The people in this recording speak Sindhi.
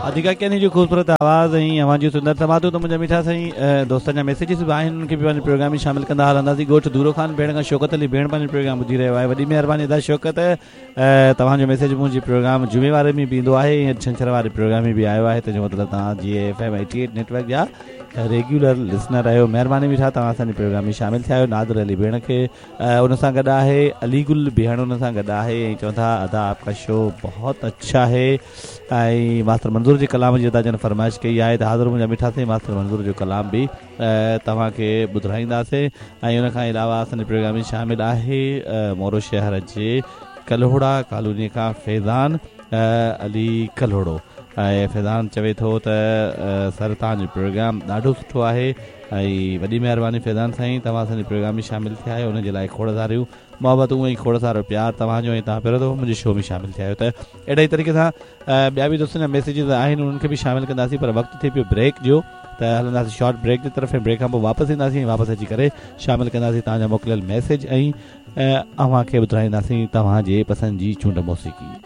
عتيقه ڪياني جو خوبصورت آواز ۽ اوهان جون سندر سماعتون ته منهنجا مٺا سائين دوستن جا ميسيجز به آهن انهن کي به پنهنجي پروگرام ۾ شامل ڪندا هلنداسين ڳوٺ دورو خان ڀيڻ کان شوڪت علي ڀيڻ پنهنجو پروگرام ٻڌي رهيو آهي وڏي مهرباني ادا شوڪت توهان جو ميسيج منهنجي پروگرام جمعي واري ۾ به ايندو آهي ۽ ڇنڇر واري پروگرام ۾ به آيو آهي تنهن جو مطلب توهان جي ايف ايم 88 نيٽ ورڪ جا ريگيولر لسنر آهيو مهرباني مٺا توهان اسان جي پروگرام ۾ شامل ٿيا آهيو نادر علي ڀيڻ کي ان سان گڏ آهي علي گل ڀيڻ ان سان گڏ آهي ۽ چون ٿا ادا آپ ڪا شو بهت اڇا هي ۽ ماستر منظور جي ڪلام جي ادا جن فرمائش ڪئي آهي ته حاضر منهنجا مٺا سائين ماستر منظور جو ڪلام به توهان کي ٻڌرائينداسين ۽ ان کان علاوه اسان جي پروگرام ۾ شامل آهي مورو شهر جي ڪلهوڙا ڪالوني کان فيضان علي ڪلهوڙو ۽ فيضان چوي ٿو ته سر توهان جو پروگرام ڏاڍو سٺو آهي ۽ وڏي مهرباني فيضان سائين توهان اسان جي پروگرام ۾ شامل ٿيا آهيو ان جي لاء کوڙ ساريون محبتون ۽ کوڙ سارو پيار توهان جو ۽ توهان پهريون دفعو منهنجي شو ۾ شامل ٿيا آهيو ته اهڙي ئي طريقي سان ٻيا به دوستن جا ميسيجز آهن انهن کي به شامل ڪنداسين پر وقت ٿي پيو بريڪ جو ته هلنداسين شارٽ بريڪ جي طرف ۽ بريڪ کان پوء واپس اينداسين ۽ واپس اچي ڪري شامل ڪنداسين توهان جا موڪليل ميسيج ۽ اوهان کي ٻڌرائينداسين توهان جي پسند جي چونڊ موسيقي.